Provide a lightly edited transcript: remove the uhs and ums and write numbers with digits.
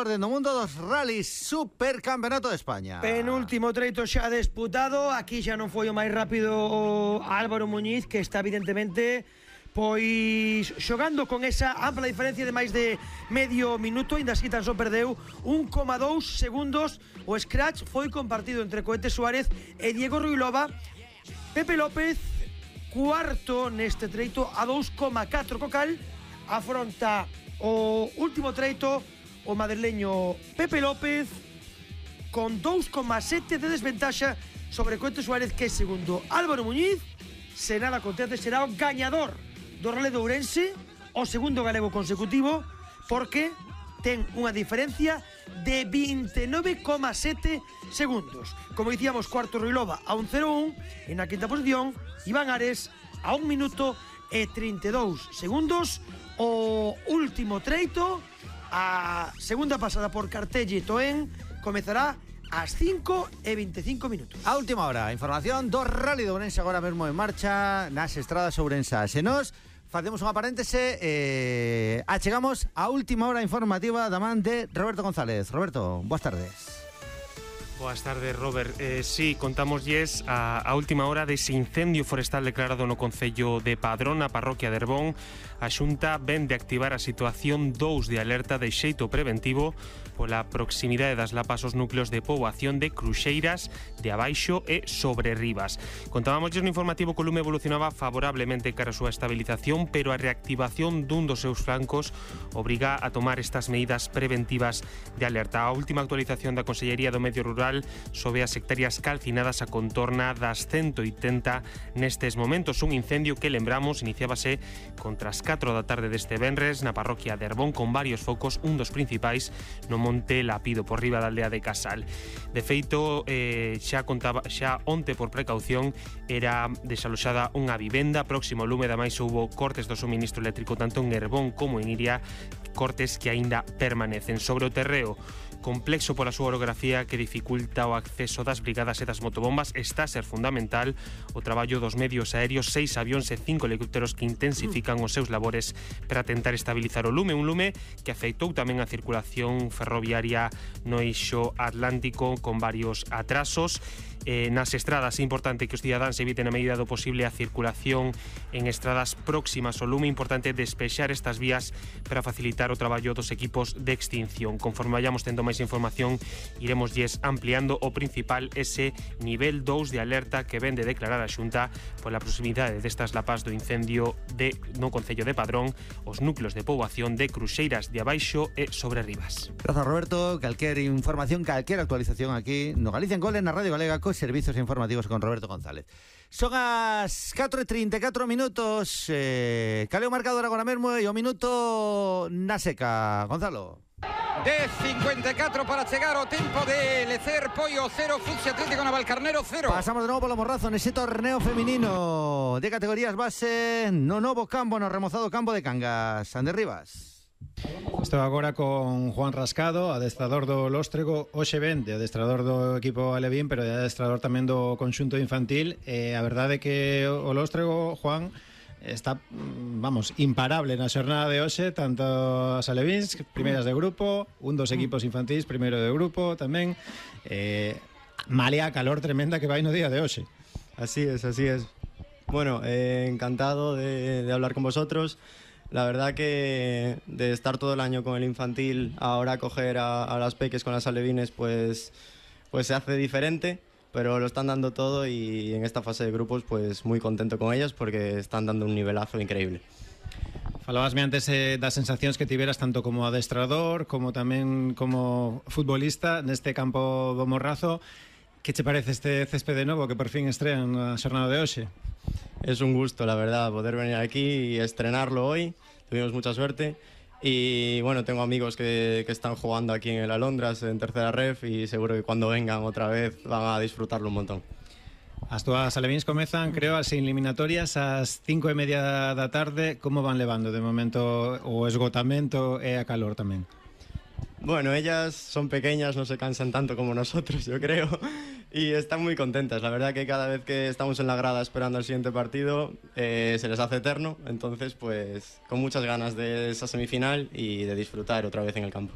orden do mundo dos rallies Supercampeonato de España. Penúltimo treito xa disputado. Aquí xa non foi o máis rápido Álvaro Muñiz, que está evidentemente pois xogando con esa ampla diferencia de máis de medio minuto. Ainda así tan só perdeu 1,2 segundos. O scratch foi compartido entre Cohete Suárez e Diego Ruilova. Pepe López, cuarto neste treito a 2,4 co cal afronta o último treito o madrileño Pepe López con 2,7 de desventaxa sobre Cohete Suárez, que é segundo. Álvaro Muñiz, se nada acontece, será o gañador do Rally de Ourense, o segundo galego consecutivo, porque ten unha diferencia de 29,7 segundos. Como dicíamos, cuarto Ruilova a 1,01, en a quinta posición Iván Ares a 1 minuto e 32 segundos. O último treito, a segunda pasada por Cartelle e Toen, comezará ás 5:25 minutos. A última hora, información do Rally de Ourense agora mesmo en marcha nas estradas ourensás. E nos facemos unha paréntese, achegamos a última hora informativa da man de Roberto González. Roberto, boas tardes. Boas tardes, Robert. Sí, contámoslles a última hora dese incendio forestal declarado no concello de Padrón, na parroquia de Herbón. A Xunta ven de activar a situación 2 de alerta de xeito preventivo pola proximidade das lapas aos núcleos de poboación de Cruxeiras, de Abaixo e Sobre Rivas. Contábamosles no informativo que o lume evolucionaba favorablemente cara a súa estabilización, pero a reactivación dun dos seus flancos obriga a tomar estas medidas preventivas de alerta. A última actualización da Consellería do Medio Rural sobre as hectáreas calcinadas a contorna das 180 nestes momentos. Un incendio que, lembramos, iniciábase contra as 4 da tarde deste venres na parroquia de Herbón, con varios focos, un dos principais no monte Lapido, por riba da aldea de Casal. De feito, xa onte por precaución era desaloxada unha vivenda próximo ao lume. Ademais, houbo cortes do suministro eléctrico tanto en Herbón como en Iria, cortes que aínda permanecen. Sobre o terreo, complexo pola súa orografía que dificulta o acceso das brigadas e das motobombas, está a ser fundamental o traballo dos medios aéreos, 6 avións e 5 helicópteros que intensifican os seus labores para tentar estabilizar o lume, un lume que afectou tamén a circulación ferroviaria no eixo atlántico con varios atrasos. Nas estradas é importante que os cidadáns eviten a medida do posible a circulación en estradas próximas ao lume. Importante despexar estas vías para facilitar o traballo dos equipos de extinción. Conforme vayamos tendo máis información, iremosllles ampliando. O principal, ese nivel 2 de alerta que ven de declarar a Xunta pola proximidade destas lapas do incendio no concello de Padrón, os núcleos de poboación de Cruxeiras, de Abaixo e Sobre Rivas. Grazas, Roberto. Calquer información, calquer actualización aquí no Galicia en Gol, na Radio Galega, servicios informativos con Roberto González. Son as 4:34 minutos. Caleo marcador agora mesmo e o minuto na seca. Gonzalo. 10:54 para chegar o tempo de Lecer. Poio 0, Fucsia Atlético Navalcarnero 0. Pasamos de novo polo Morrazo nese torneo feminino de categorías base no novo campo, no remozado campo de Cangas. Ander Rivas. Estou agora con Juan Rascado, adestrador do Lóstrego. Hoxe ven de adestrador do equipo alevín, pero de adestrador tamén do conxunto infantil. A verdade é que o Lóstrego, Juan, está, imparable na xornada de hoxe. Tanto as alevíns, primeiras de grupo, un dos equipos infantís, primeiro de grupo tamén. Malia a calor tremenda que vai no día de hoxe. Así es. Bueno, encantado de hablar con vosotros. La verdad que de estar todo el año con el infantil, ahora coger a las peques con las alevines, pues se hace diferente, pero lo están dando todo y en esta fase de grupos pues muy contento con ellas porque están dando un nivelazo increíble. Falabasme antes das sensacións que tiveras tanto como adestrador como tamén como futbolista neste campo do Morrazo. Que che parece este césped de novo que por fin estrean na xornada de hoxe? Es un gusto, la verdad, poder venir aquí y estrenarlo hoy. Tuvimos mucha suerte. Y bueno, tengo amigos que están jugando aquí en el Alondras, en tercera ref, y seguro que cuando vengan otra vez van a disfrutarlo un montón. As túas alevíns comezan, creo, as eliminatorias ás 5:30 da tarde. Como van levando de momento o esgotamento e a calor tamén? Bueno, ellas son pequeñas, no se cansan tanto como nosotros, yo creo, y están muy contentas. La verdad que cada vez que estamos en la grada esperando el siguiente partido, se les hace eterno. Entonces, pues, con muchas ganas de esa semifinal y de disfrutar otra vez en el campo.